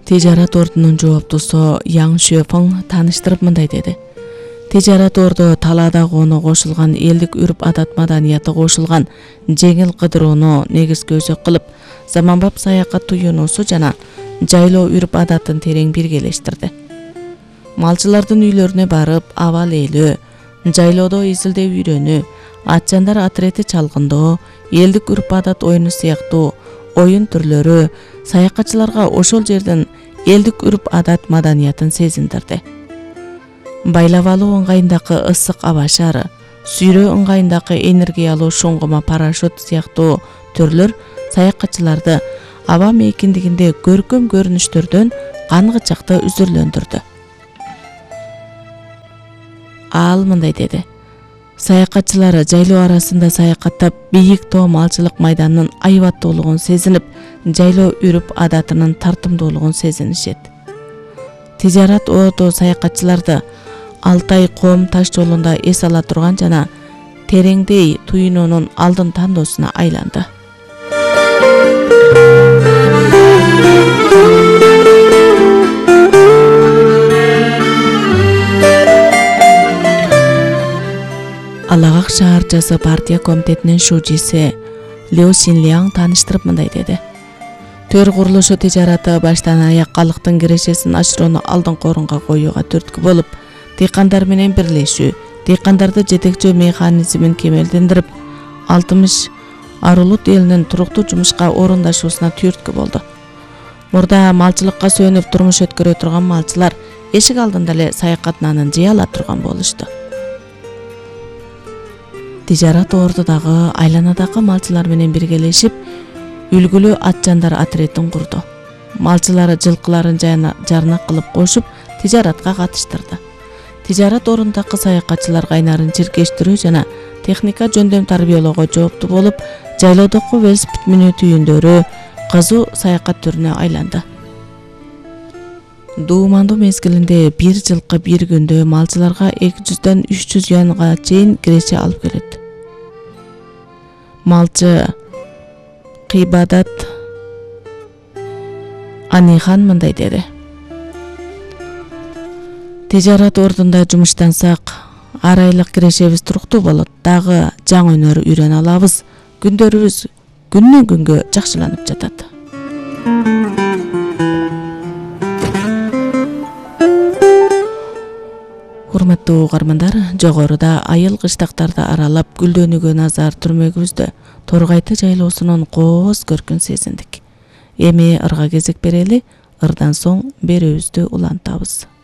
Тижарат ордунун жооптусу Яң Шөфөң тааныштырып мындай деди. Тижарат орду талаада коону кошулган, элдик үрп адат маданияты кошулган жеңил кыдырууну негизги өзөк кылып, заманбап саякат туюнуусу жана жайлоо үрп адатын терең биргелештирди. Малчылардын үйлөрүнө барып, абал ээлөө, жайлоодо изилдеп үйрөнүү, атчандар атрети чалгындоо, элдик үрп адат оюну сыяктуу оюн түрлөрү саякатчыларга ошол жердин элдик үрп адат маданиятын сезиндирди. Байлабалуу ыңгайындагы ысык аба шары, сүйрөө ыңгайындагы энергиялуу шуңгума парашют сыяктуу түрлөр саякатчыларды аба мейкиндигинде көркөм көрүнүштөрдөн кангычакты үзүрлөндүрдү. Ал мындай деди. Саякатчылар жайлоо арасында саякаттап, бийик тоо малчылык майданынын айбаттуулугун сезинип, жайлоо үрп адатынын тартымдуулугун сезинишет. Тижарат орду саякатчыларды Алтай коом таш жолунда эс ала турган жана тереңдей туюнуунун алдын тандоосуна айланды. Алагак шаарчасы партия комитетинин шужиси Лю Синляң тааныштырып мындай деди. Төр курулушу тижараты баштан аяк калктын кирешесин ашырууну алдыңкы орунга коюуга түрткү болуп, дыйкандар менен бирлешүү, дыйкандарды жетекчөө механизмин кемелдендирип, 60 Арулут элинин туруктуу жумушка орундашуусуна түрткү болду. Мурда малчылыкка сүйөнүп турмуш өткөрө турган малчылар эшик алдында эле саякатнанын жей ала турган болушту. Тижарат ордудагы айланадагы малчылар менен биргелешип, үлгүлүү атчандар атретин курду. Малчылары жылкыларын жарнак кылып кошуп, тижаратка катыштырды. Тижарат ордундагы саякатчылар кайнарын чиркештирүү жана техника жөндөм тарбиялоого жооптуу болуп, жайлоодогу велосипед минүү түйүндөрү кызуу саякат түрүнө айланды. Дуумандуу мезгилинде бир жылкы бир күндө малчыларга 200-дөн 300 юанга чейин киреше алып келет. Малчы Кыйбадат Анихан мындай деди. Тижарат ордунда жумуштансак, ар айлык кирешебиз туруктуу болот, дагы жаңы өнөр үйрөнө алабыз, күндөрүбүз күндөн күнгө жакшыланып жатат. Урматтуу угармандар, жогоруда айыл кыштактарды аралап гүлдөнүүгө назар түрмөгүбүздө Торгайты жайлоосунун кооз көркүн сезиндик. Эми ырга кезек берели, ырдан соң берүүбүздү улантабыз.